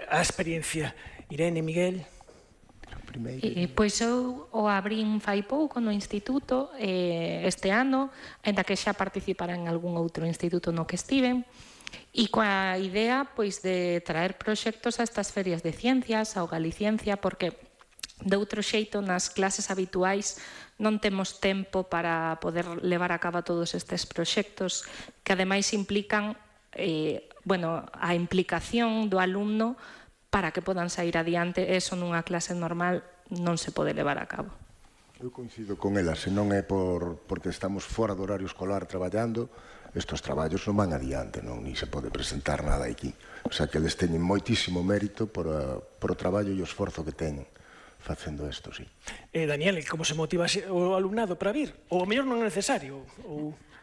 a experiencia. Irene, Miguel... Pois eu o abrín fai pouco no instituto este ano, ainda que xa participara en algún outro instituto no que estiven, e coa idea pois de traer proxectos a estas ferias de ciencias, ao Galiciencia, porque de outro xeito nas clases habituais non temos tempo para poder levar a cabo todos estes proxectos que ademais implican a implicación do alumno para que podan sair adiante. Eso nunha clase normal non se pode levar a cabo. Eu coincido con ela, se non é porque estamos fora do horario escolar traballando, estes traballos non van adiante, ni se pode presentar nada aquí. O sea, que eles teñen moitísimo mérito por o traballo e o esforzo que teñen facendo isto, sí. Daniel, como se motiva o alumnado para vir? Ou o mellor non é necesario?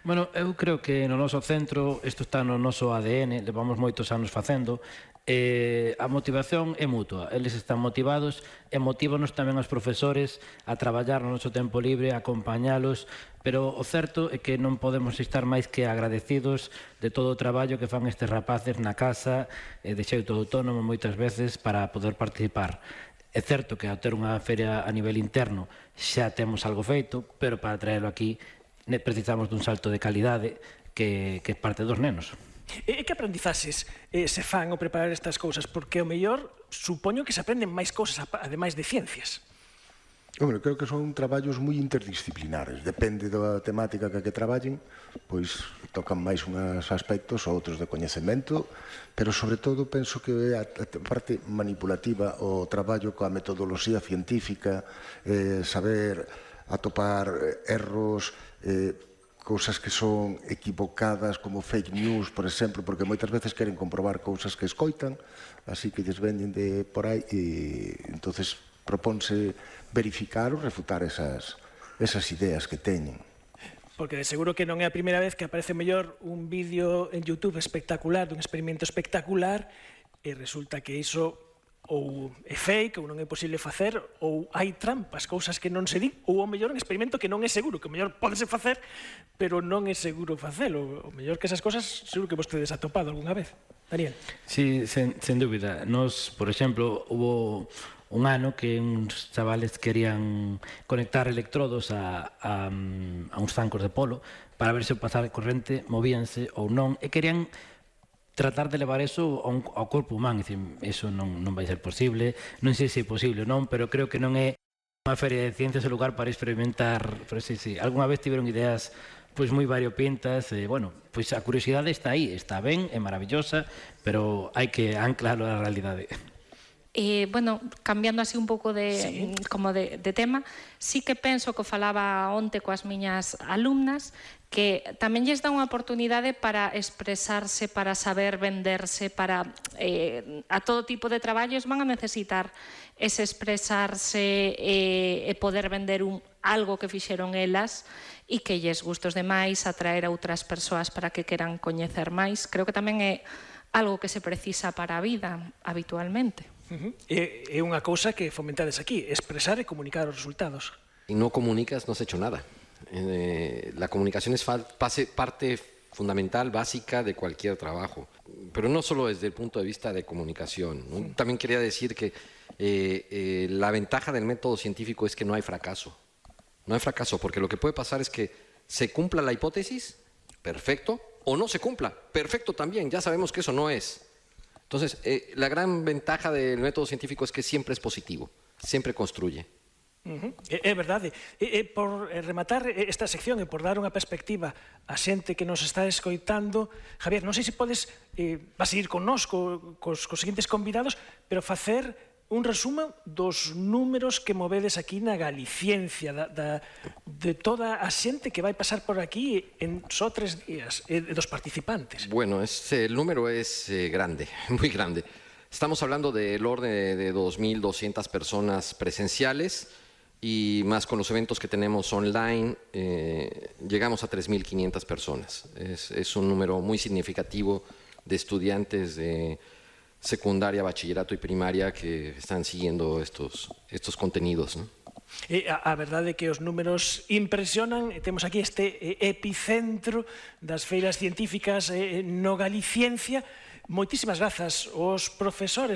Bueno, eu creo que no noso centro, isto está no noso ADN, levamos moitos anos facendo, a motivación é mutua, eles están motivados e motívanos tamén os profesores a traballar no noso tempo libre, a acompañalos, pero o certo é que non podemos estar máis que agradecidos de todo o traballo que fan estes rapaces na casa, de xeito autónomo moitas veces, para poder participar. É certo que ao ter unha feria a nivel interno xa temos algo feito, pero para traerlo aquí precisamos dun salto de calidade que parte dos nenos. E que aprendizaxes se fan ao preparar estas cousas? Porque, ao mellor, supoño que se aprenden máis cousas, ademais de ciencias. Hombre, creo que son traballos moi interdisciplinares. Depende da temática que traballen, pois tocan máis uns aspectos ou outros de coñecemento, pero, sobre todo, penso que a parte manipulativa, o traballo coa metodoloxía científica, saber atopar erros, cousas que son equivocadas, como fake news, por exemplo, porque moitas veces queren comprobar cousas que escoitan, así que lles veñen de por aí, e entonces propónse verificar ou refutar esas ideas que teñen. Porque de seguro que non é a primeira vez que aparece mellor un vídeo en YouTube espectacular, dun experimento espectacular, e resulta que iso ou é fake, ou non é posible facer, ou hai trampas, cousas que non se din, ou ao mellor un experimento que non é seguro, que ao mellor pódese facer, pero non é seguro facelo. O mellor que esas cousas seguro que vostedes atopado algunha vez. Daniel. Sí, sen dúbida. Nos, por exemplo, hubo un ano que uns chavales querían conectar electrodos a uns zancos de polo para ver se o pasar corrente movíanse ou non, e querían tratar de levar eso ao corpo humano. Eso non vai ser posible, non sei se é posible ou non, pero creo que non é unha feria de ciencias o lugar para experimentar. Pero sí, algunha vez tiveron ideas pois moi variopintas, bueno, pois a curiosidade está aí, está ben, é maravillosa, pero hai que anclarlo á realidade. Bueno, cambiando así un pouco de tema, sí que penso que falaba onte coas miñas alumnas, que tamén lles dá unha oportunidade para expresarse, para saber venderse, para a todo tipo de traballos van a necesitar ese expresarse e poder vender algo que fixeron elas e que lles gustos demais, atraer a outras persoas para que queran coñecer máis. Creo que tamén é algo que se precisa para a vida habitualmente. É unha cousa que fomentades aquí, expresar e comunicar os resultados. Y no comunicas, no has hecho nada. La comunicación es parte fundamental, básica de cualquier trabajo. Pero no solo desde el punto de vista de comunicación, ¿no? También quería decir que la ventaja del método científico es que no hay fracaso. No hay fracaso, porque lo que puede pasar es que se cumpla la hipótesis, perfecto, o no se cumpla, perfecto también, ya sabemos que eso no es. Entonces, la gran ventaja del método científico es que siempre es positivo, siempre construye. É verdade. Por rematar esta sección e por dar unha perspectiva a xente que nos está escoitando, Javier, non sei se podes, vas a ir con nós, cos seguintes convidados, pero facer un resumo dos números que movedes aquí na Galiciencia, de toda a xente que vai pasar por aquí en só 3 días, dos participantes. Bueno, el número es grande, muy grande. Estamos hablando del orden de 2.200 personas presenciales y más con los eventos que tenemos online, llegamos a 3.500 personas. Es un número muy significativo de estudiantes de secundaria, bachillerato y primaria que están siguiendo estos contenidos, ¿no? A verdade é que os números impresionan. Temos aquí este epicentro das feiras científicas no Galiciencia. Moitísimas grazas aos profesores